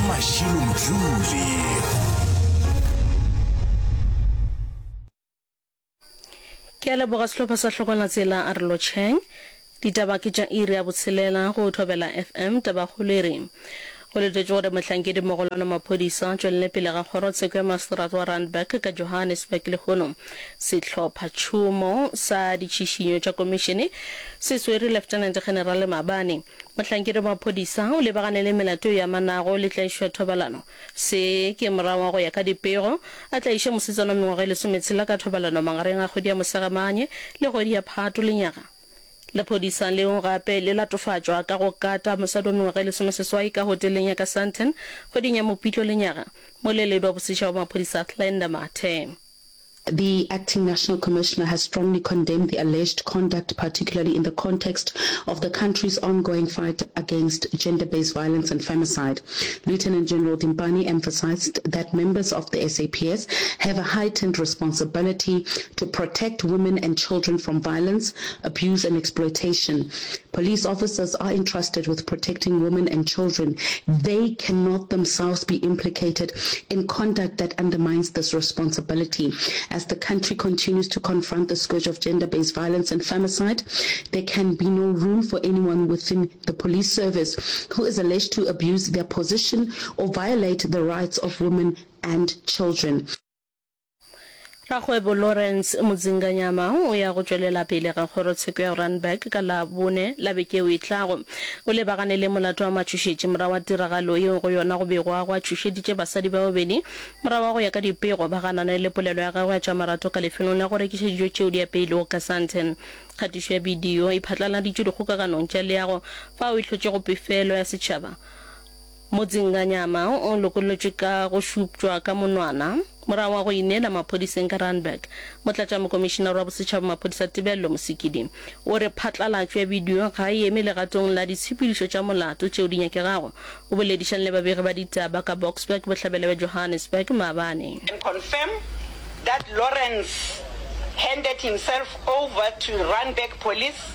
Mashilo Mdluli. Ke a leboga sehlopha sa Hlokolatsela a re lotšheng. Ditaba ke tša iri ya botshelela go Thobela FM. Tabakgolo e re go letetšwe gore mohlankedi mogolwane wa maphodisa a tšwelele pele ga kgorotsheko ya maseterata wa Randburg ka Johannesburg lehono. Sehlophatšhomo sa ditšhišinyo tša komišene se swere Lieutenant General Maabane. Mohlankedi wa maphodisa o lebagane le melato e amanago le tlaišo ya thobalano. Se ke morago ga go ya ka dipego a tlaiše mosetsana wa mengwaga e lesometshela ka thobalano magareng a kgwedi ya Mosegamanye le kgwedi ya Phato lenyaga. Lephodisa leo gape le latofatšwa ka go kata mosadi wa mengwaga e lesomeseswai ka hoteleng ya ka Sandton kgweding ya Mopitlo lenyaga. Moleledi wa bosetšhaba wa maphodisa Glenda Mathe. The acting national commissioner has strongly condemned the alleged conduct, particularly in the context of the country's ongoing fight against gender-based violence and femicide. Lieutenant General Dimpane emphasized that members of the SAPS have a heightened responsibility to protect women and children from violence, abuse and exploitation. Police officers are entrusted with protecting women and children. They cannot themselves be implicated in conduct that undermines this responsibility. As the country continues to confront the scourge of gender-based violence and femicide, there can be no room for anyone within the police service who is alleged to abuse their position or violate the rights of women and children. Rakgwebo Lawrence Mudzinganyama o ya go tšwelela pele ga kgorotsheko ya Randburg ka Labone la beke yeo e tlago. O lebagane le molato wa matšhošetši morago ga tiragalo yeo go yona go begwago a tšhošeditše basadi ba babedi morago ga go ya ka dipego ba ganane le polelo ya gagwe ya tša marato ka lefelong la go rekiša dijo tšeo di apeilwego ka Sandton. Kgatišo ya bidio e phatlaladitšwe dikgokaganong tša leago fao e hlotšego pefelo ya setšhaba. Mudzinganyama o lokollotšwe ka go šuptšwa ka monwana morago ga go ineela maphodiseng ka Randburg. Motlatšamokomišinare wa bosetšhaba wa maphodisa Tebello Mosikidi o re phatlalatšo ya bidio ga e eme legatong la ditshepedišo tša molato tšeo di nyakegago. O boledišane le babegi ba ditaba ka Boksburg, bohlabela bja Johannesburg maabane. Can confirm that Lawrence handed himself over to Randburg police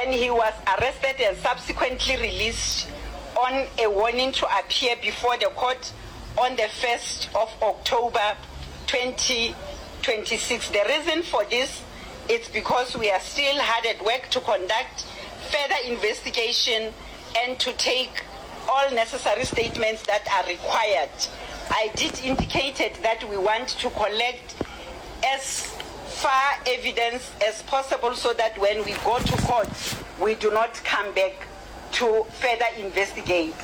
and he was arrested and subsequently released on a warning to appear before the court on the 1st of October 2026. The reason for this is because we are still hard at work to conduct further investigation and to take all necessary statements that are required. I did indicated that we want to collect as far evidence as possible so that when we go to court we do not come back to further investigate.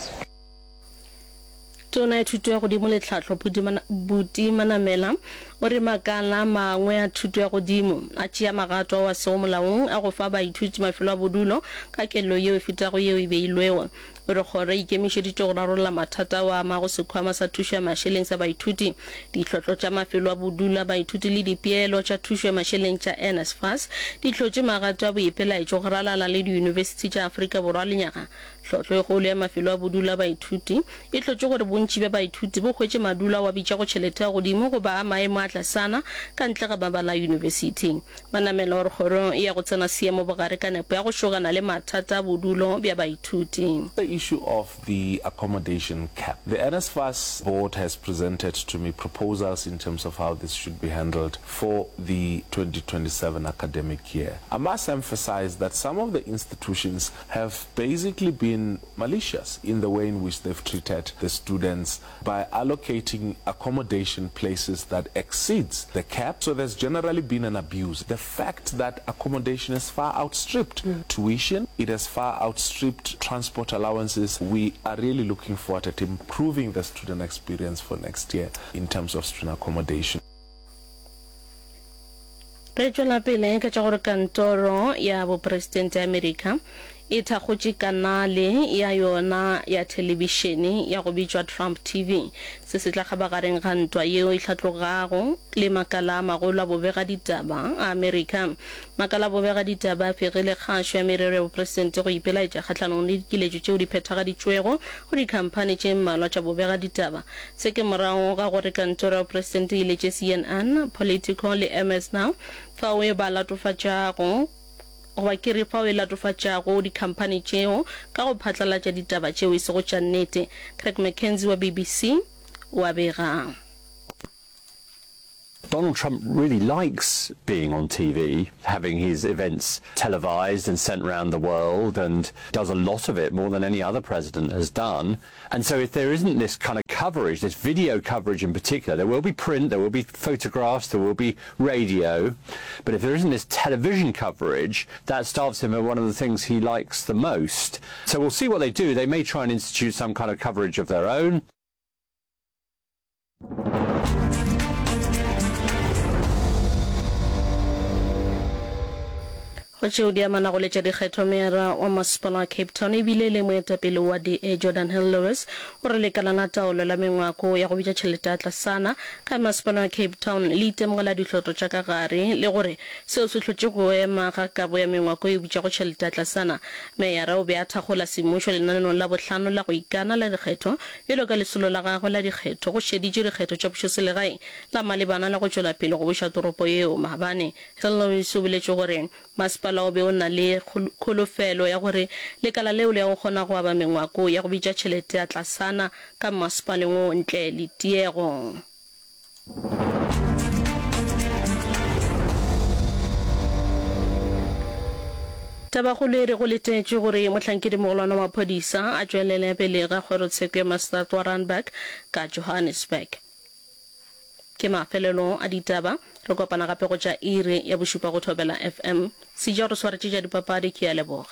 Tona ya Thuto ya Godimo le Tlhahlo, Buti Manamela, o re makala a mangwe a thuto ya godimo a tšea magato ao a sego molaong a go fa baithuti mafelo a bodulo ka kelo yeo e fetago yeo e beilwego. O re kgoro e ikemišeditše go rarolla mathata ao a amago sekhwama sa thušo ya mašeleng sa baithuti, ditlhotlo tša mafelo a bodulo a baithuti le dipeelo tša thušo ya mašeleng tša NSFAS di hlotše magato a boipelaetšo go ralala le diyunibesithi tša Afrika Borwa lenyaga. Tlhotlo e kgolo ya mafelo a bodulo a baithuti e hlotše gore bontši bja baithuti bo hwetše madulo ao a bitšago tšhelete ya godimo goba a maemo a tlasana ka ntle ga mabala a yunibesithi. Manamela o re kgoro e ya go tsena seemo bogare ka nepo ya go šogana le mathata a bodulo bja baithuti. The issue of the accommodation cap. The NSFAS board has presented to me proposals in terms of how this should be handled for the 2027 academic year. I must emphasize that some of the institutions have basically been malicious in the way in which they've treated the students by allocating accommodation places that exceeds the cap. So there's generally been an abuse. The fact that accommodation has far outstripped mm. tuition, it has far outstripped transport allowances. We are really looking forward at improving the student experience for next year in terms of student accommodation. Re tšwela pele ka tša gore kantoro ya bopresidente ya Amerika e thakgotše kanale ya yona ya thelebišene ya go bitšwa Trump TV. Se se tla kgabagareng ga ntwa yeo e hlatlogago le makala a magolo a bobegaditaba a Amerika. Makala a bobegaditaba a fegile kgašo ya merero ya bopresidente go ipelaetša kgahlanong le dikiletšo tšeo di phethagaditšwego go dikhamphani tše mmalwa tša bobegaditaba. Se ke morago ga gore kantoro ya bopresidente e iletše CNN, Politico le MS Now fao e ba latofatšago. goba ke re fao e latofatšago dikhamphani tšeo ka go phatlalatša ditaba tšeo e sego tša nnete. Craig McKenzie wa BBC o a bega. Donald Trump really likes being on TV, having his events televised and sent round the world, and does a lot of it, more than any other president has done. And so if there isn't this kind of coverage, this video coverage in particular, there will be print, there will be photographs, there will be radio, but if there isn't this television coverage, that starves him of one of the things he likes the most. So we'll see what they do. They may try and institute some kind of coverage of their own. Go tšeo di amanago le tša dikgetho, Meyara wa Masepala wa Cape Town e bile e le moetapele wa DA Geordin Hill-Lewis o re lekala la taolo la mengwako ya go bitša tšhelete ya tlasana ka Masepala wa Cape Town le itemogela dihlotlo tša ka gare le gore seo se hlotše go ema ga kabo ya mengwako e bitšago tšhelete ya tlasana. Meyara o be a thakgola semmušo lenaneong la bohlano la go ikana la dikgetho Bjalo ka lesolo la gagwe la dikgetho go šeditše dikgetho tša pušoselegae la malebana le go tšwela pele go buša toropo yeo maabane, Hill-Lewis o boletše gore masepala o be o na le kholofelo ya gore lekala leo le ya go kgona go aba mengwako ya go bitša tšhelete ya tlasana ka mmasepaleng wo ntle le tiego. Tabakgolo e re go letetšwe gore mohlankedimogolwane wa maphodisa a tšwelele pele ga kgorotsheko ya maseterata wa Randburg ka Johannesburg. Ke mafelelo a ditaba, re kopana gape go tša iri ya bošupa go Thobela FM. Seja o re swaretše tša dipapadi, ke a leboga.